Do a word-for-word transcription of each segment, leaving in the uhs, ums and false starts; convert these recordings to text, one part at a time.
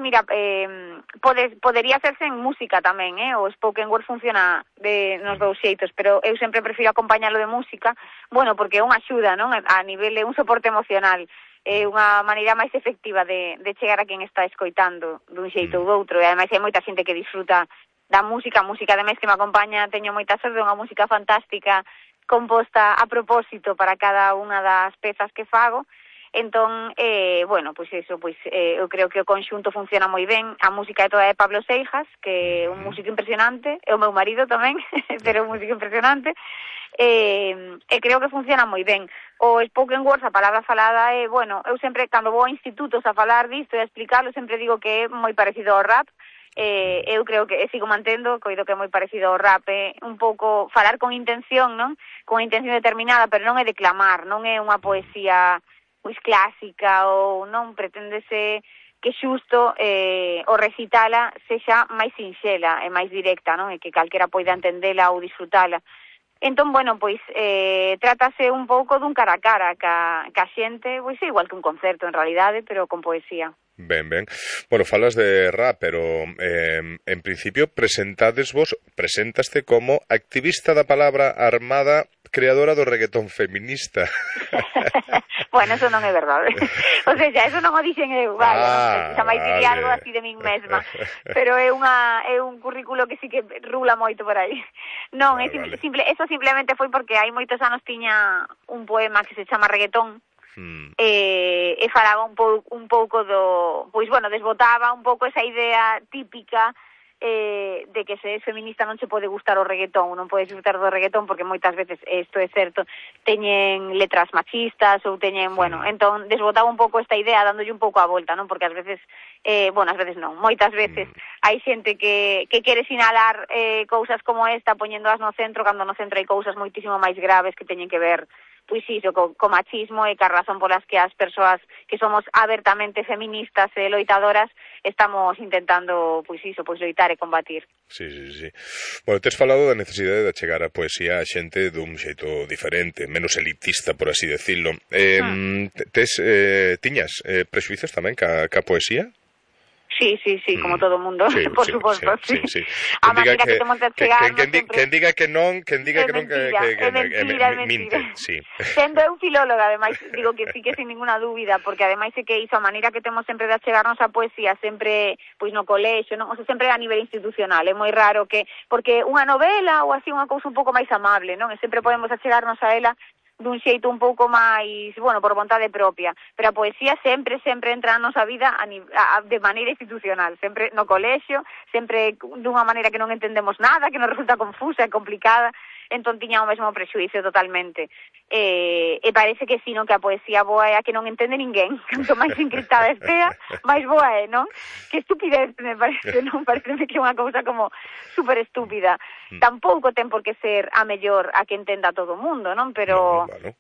mira, eh, pode, podería hacerse en música tamén, eh? O spoken word funciona de nos dous xeitos, pero eu sempre prefiro acompañalo de música, bueno, porque é unha axuda, non? A nivel de un soporte emocional, é unha maneira máis efectiva de, de chegar a quen está escoitando dun xeito ou doutro, e ademais hai moita xente que disfruta da música, a música ademais que me acompaña, teño moita sorte, unha música fantástica, composta a propósito para cada unha das pezas que fago. Entón, eh, bueno, pois iso, pois eh, eu creo que o conxunto funciona moi ben. A música é toda de Pablo Seijas, que é un músico impresionante, é o meu marido tamén, pero é un músico impresionante, e, e creo que funciona moi ben. O spoken word, a palabra falada, é, bueno, eu sempre, cando vou a institutos a falar disto e a explicarlo, sempre digo que é moi parecido ao rap. Eh, eu creo que, e sigo mantendo, coido que é moi parecido ao rap, é un pouco falar con intención, non? Con intención determinada, pero non é declamar, non é unha poesía pois clásica, ou non pretendese que xusto eh, o recitala sexa máis sinxela e máis directa, non? E que calquera poida entendela ou disfrutala. Entón, bueno, pois eh, trátase un pouco dun cara a cara ca, ca xente, pois é igual que un concerto en realidade, pero con poesía. Ben, ben. Bueno, falas de rap, pero eh, en principio presentades vos, presentaste como activista da palabra armada, creadora do reggaetón feminista. Bueno, eso non é verdade. O sea, eso non o dixen eu, vale, ah, non, xa máis diría vale. Algo así de min mesma. Pero é unha é un currículo que sí que rula moito por aí. Non, ah, é simple, vale. simple, eso simplemente foi porque hai moitos anos tiña un poema que se chama Reggaetón. Hmm. E, e falaba un pouco un pouco do, pois bueno, desbotaba un pouco esa idea típica eh, de que se é feminista non se pode gustar o reggaetón, non pode disfrutar do reggaetón porque moitas veces, isto é certo, teñen letras machistas ou teñen, bueno, entón desbotaba un pouco esta idea dándolle un pouco a volta, non? Porque ás veces, eh, bueno, ás veces non, moitas veces hai xente que, que quere sinalar eh, cousas como esta poñéndoas no centro, cando no centro hai cousas moitísimo máis graves que teñen que ver pois iso, co, co machismo e ca razón polas que as persoas que somos abertamente feministas e loitadoras estamos intentando, pois iso, pois loitar e combatir. Sí, sí, sí. Bueno, tes falado da necesidade de chegar a poesía a xente dun xeito diferente, menos elitista, por así decirlo. Eh, hmm. Tes, eh, tiñas eh, prexuizos tamén ca, ca poesía? Sí, sí, sí, como todo o mundo, sí, por sí, suposto, sí. sí, sí. A maneira que, que temos de chegar... Que, que, que, que diga que non, que diga que non... É mentira, é mentira, é mentira. Sí. Sendo eu filóloga, ademais, digo que sí que sin ninguna dúbida, porque ademais é que iso, a maneira que temos sempre de achegarnos a poesía, sempre, pois no colexio, non? O sea, sempre a nivel institucional, é moi raro que... Porque unha novela ou así unha cousa un pouco máis amable, non? E sempre podemos achegarnos a ela dun xeito un pouco máis, bueno, por vontade propia, pero a poesía sempre, sempre entra na nosa vida a, a, de maneira institucional, sempre no colexio, sempre dunha maneira que non entendemos nada, que nos resulta confusa e complicada, entón tiña o mesmo prexuízo totalmente. E, e parece que si, non, que a poesía boa é a que non entende ninguén, canto máis encriptada estea, máis boa é, non? Que estupidez, me parece, non? Parece que é unha cousa como super estúpida. Tampouco ten por que ser a mellor a que entenda todo o mundo, non? Pero... Bueno.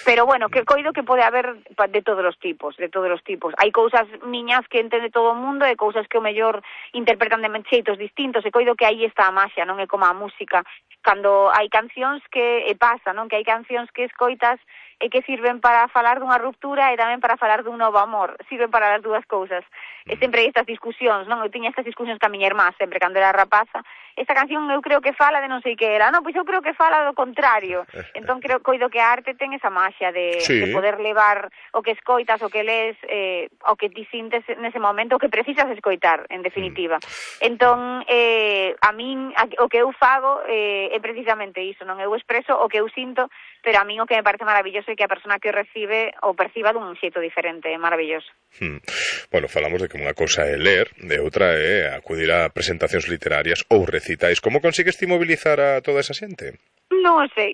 Pero bueno, que coido que pode haber de todos os tipos, de todos os tipos. Hai cousas miñas que entende todo o mundo e cousas que o mellor interpretan de xeitos distintos, e coido que aí está a maxia, non é como a música. Cando hai cancións que, e pasa, non? Que hai cancións que escoitas e que sirven para falar dunha ruptura e tamén para falar dun novo amor. Sirven para as dúas cousas. E sempre hai estas discusións, non? Eu tiña estas discusións ca miña irmá sempre cando era rapaza. Esta canción eu creo que fala de non sei que era. Non, pois eu creo que fala do contrario. Entón creo, coido que a arte ten esa maxia de, sí. de poder levar o que escoitas, o que lees, eh, o que ti sintes nese momento, o que precisas escoitar, en definitiva. Entón, eh, a min, a, o que eu fago eh, é precisamente iso, non? Eu expreso o que eu sinto, pero a min o que me parece maravilloso é que a persona que o recibe o perciba dun xeito diferente, é maravilloso. Hmm. Bueno, falamos de que unha cousa é ler, de outra é acudir a presentacións literarias ou recitais. Como consigues ti mobilizar a toda esa xente? Non o sei.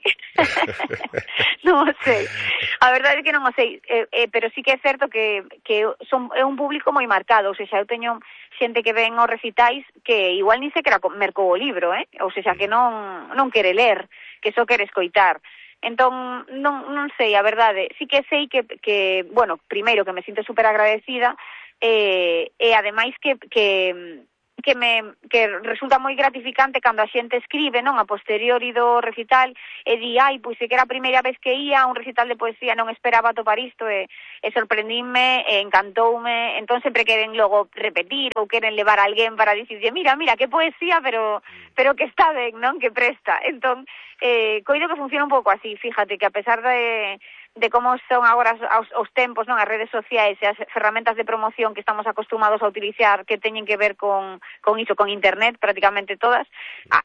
Non o sei. A verdade é que non o sei, eh, eh, pero sí que é certo que, que son, é un público moi marcado, ou seja, eu teño xente que ven aos recitais que igual ni sequera mercou o libro, eh? Ou seja, que non, non quere ler, que só quere escoitar. Entón, non, non sei, a verdade, sí que sei que, que bueno, primeiro que me sinto super agradecida, eh, e ademais que, que, que me que resulta moi gratificante cando a xente escribe, non, a posteriori do recital e di, ai, pois se que era a primeira vez que ia a un recital de poesía, non esperaba atopar isto e, e sorprendíme e encantoume, entón sempre queren logo repetir ou queren levar a alguén para dicirlle, mira, mira, que poesía, pero pero que está ben, non, que presta. Entón, eh, coido que funciona un pouco así, fíjate, que a pesar de de como son agora os, os tempos, non, as redes sociais e as ferramentas de promoción que estamos acostumados a utilizar que teñen que ver con, con iso, con internet, prácticamente todas,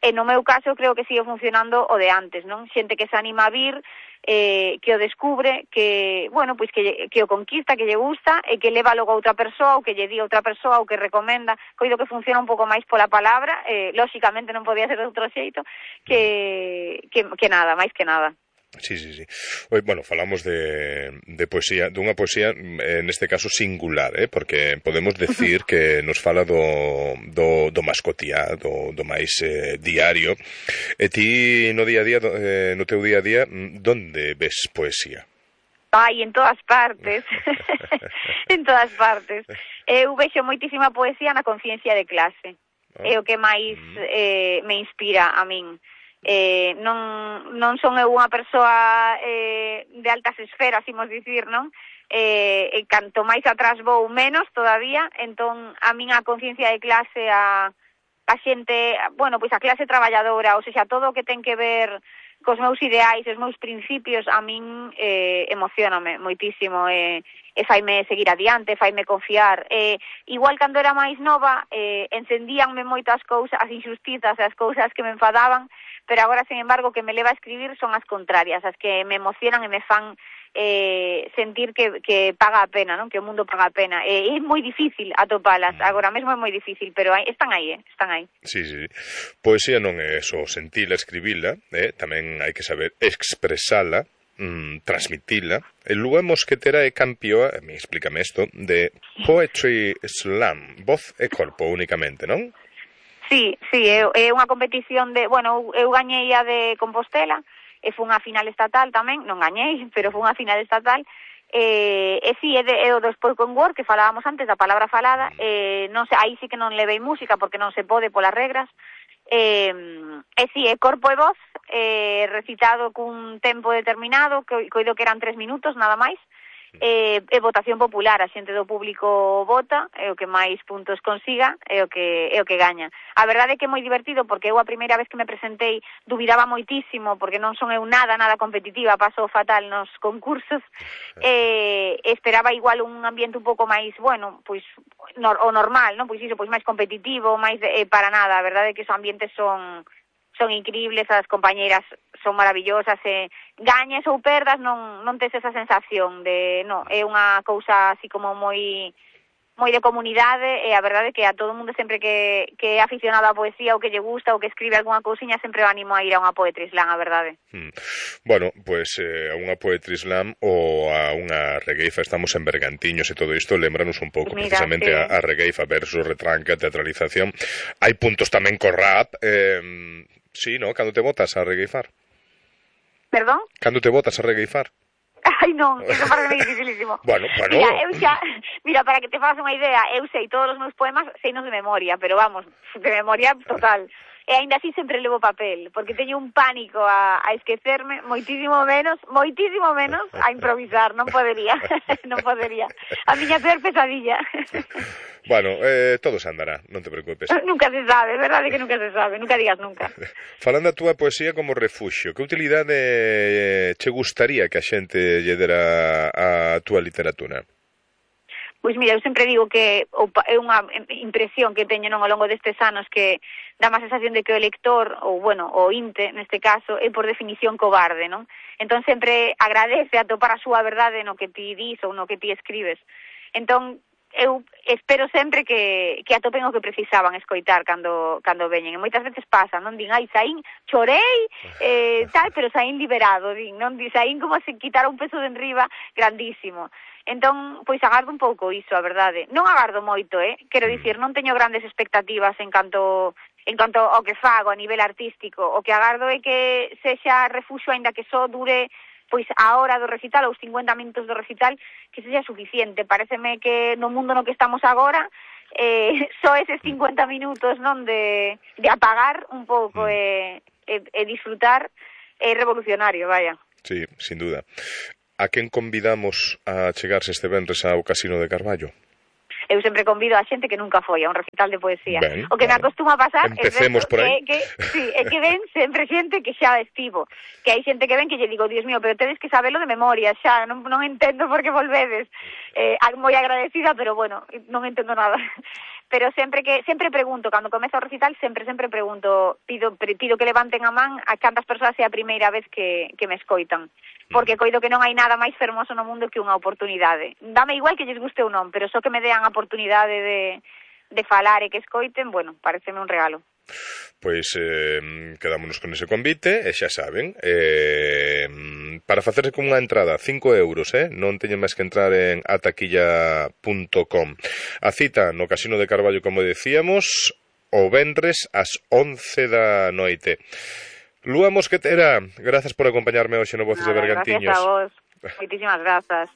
e no meu caso creo que sigue funcionando o de antes, non? Xente que se anima a vir, eh, que o descubre, que, bueno, pois que, que o conquista, que lle gusta, e que leva logo a outra persoa, ou que lle di a outra persoa, ou que recomenda, coido que funciona un pouco máis pola palabra, eh, lóxicamente non podía ser de outro xeito, que, que, que nada, máis que nada. Sí, sí, sí. Hoy, bueno, falamos de, de poesía, dunha poesía, en este caso singular, eh? Porque podemos decir que nos fala do, do, do máis cotiá, do, do máis eh, diario. E ti no día a día, eh, no teu día a día, donde ves poesía? Ai, en todas partes. En todas partes. Eu vexo moitísima poesía na conciencia de clase. Oh. É o que máis eh, me inspira a min. Eh, non, non son eu unha persoa eh, de altas esferas, imos dicir, non? Eh, e canto máis atrás vou menos todavía, entón a min a conciencia de clase, a, a xente, bueno, pois a clase traballadora, ou seja, todo o que ten que ver cos meus ideais, os meus principios, a min eh, emocioname moitísimo e, e faime seguir adiante, faime confiar. Eh, igual cando era máis nova, eh, encendíanme moitas cousas, as injustizas, as cousas que me enfadaban, pero agora, sin embargo, que me leva a escribir son as contrarias, as que me emocionan e me fan eh, sentir que, que paga a pena, non? Que o mundo paga a pena. Eh, é moi difícil atopalas, agora mesmo é moi difícil, pero hai, están aí, eh? están aí. Sí, sí. Poesía non é só sentila, escribila, eh? Tamén hai que saber expresala, mm, transmitila. El Lúa Mosquetera é campioa, me explícame isto, de Poetry Slam, voz e corpo únicamente, non? Sí, sí, é, é unha competición de, bueno, eu gañei a de Compostela, e foi unha final estatal tamén, non gañei, pero foi unha final estatal, e, e sí, é, de, é o do spoken word que falábamos antes, da palabra falada, e non sei, aí sí que non levei música porque non se pode polas regras, e, e sí, é corpo e voz, e recitado cun tempo determinado, que coido que eran tres minutos, nada máis, e, e votación popular, a xente do público vota, é o que máis puntos consiga, é o que é o que gaña. A verdade é que é moi divertido porque eu a primeira vez que me presentei dubidaba moitísimo porque non son eu nada, nada competitiva, paso fatal nos concursos, e esperaba igual un ambiente un pouco máis, bueno, pois nor, o normal, non? Pois iso, pois máis competitivo, máis de, eh, para nada, a verdade é que os ambientes son son increíbles, as compañeiras son maravillosas, e gañes ou perdas non non tes esa sensación de, no, é unha cousa así como moi moi de comunidade, e a verdade é que a todo mundo sempre que, que é aficionado á poesía ou que lle gusta ou que escribe algunha cousiña sempre o animo a ir a unha poetry slam, a verdade. Hmm. Bueno, pues eh, a unha poetry slam ou a unha regueifa, estamos en Bergantiños e todo isto, lembranos un pouco Mira, precisamente sí. a, a regueifa versus retranca, teatralización. Hai puntos tamén co rap, eh, sí, no? Cando te botas a regueifar? Perdón? Cando te botas a regueifar? Ai, non, eso parece dificilísimo. Bueno, bueno. Mira, eu xa, mira, para que te fagas unha idea, eu sei todos os meus poemas, seinos de memoria, pero vamos, de memoria total. E aínda así sempre levo papel, porque teño un pánico a, a esquecerme, moitísimo menos, moitísimo menos a improvisar, non podería, non podería. A miña peor pesadilla. Bueno, eh, todo se andará, non te preocupes. Nunca se sabe, verdade que nunca se sabe, nunca digas nunca. Falando a túa poesía como refuxio, que utilidade eh, che gustaría que a xente lle dera a túa literatura? Pois mira, eu sempre digo que é unha impresión que teño non ao longo destes anos que dá má sensación de que o lector, ou bueno, o inte, neste caso, é por definición cobarde, non? Entón sempre agradece atopar a súa verdade no que ti dis ou no que ti escribes. Entón, eu espero sempre que, que atopen o que precisaban escoitar cando, cando veñen. E moitas veces pasa, non? Din, ai, saín, chorei, eh, tal, pero saín liberado, din, non? Din, saín como se quitara un peso de enriba grandísimo. Entón, pois agardo un pouco iso, a verdade. Non agardo moito, eh? Quero dicir, non teño grandes expectativas en canto en canto ao que fago a nivel artístico. O que agardo é que sexa refuxo, aínda que só dure pois a hora do recital, ou os cincuenta minutos do recital, que sexa suficiente. Paréceme que no mundo no que estamos agora, eh, só eses cincuenta minutos, non, de, de apagar un pouco mm. e, e, e disfrutar é revolucionario, vaya. Sí, sin duda. A quen convidamos a chegarse este venres ao Casino de Carballo? Eu sempre convido a xente que nunca foi a un recital de poesía. Ben, o que claro. me acostuma a pasar Empecemos é por aí. que, que, sí, é que ven sempre xente que xa estivo. Que hai xente que ven que lle digo, Dios mío, pero tedes que sabelo de memoria, xa, non, non entendo por que volvedes. Eh, moi agradecida, pero bueno, non entendo nada. Pero sempre que sempre pregunto, cando comezo o recital, sempre sempre pregunto, pido pido que levanten a man a cantas persoas é a primeira vez que, que me escoitan. Porque coido que non hai nada máis fermoso no mundo que unha oportunidade. Dame igual que lles guste ou non, pero só que me dean a oportunidade de, de falar e que escoiten, bueno, pareceme un regalo. Pois eh, quedámonos con ese convite e xa saben, eh, para facerse con unha entrada cinco euros, eh? Non teñen máis que entrar en ataquilla punto com. A cita no Casino de Carballo, como decíamos, o venres ás once da noite. Lúa Mosquetera, grazas por acompañarme hoxe no Voces Nada, de Bergantiños. Gracias a vos, moitísimas grazas.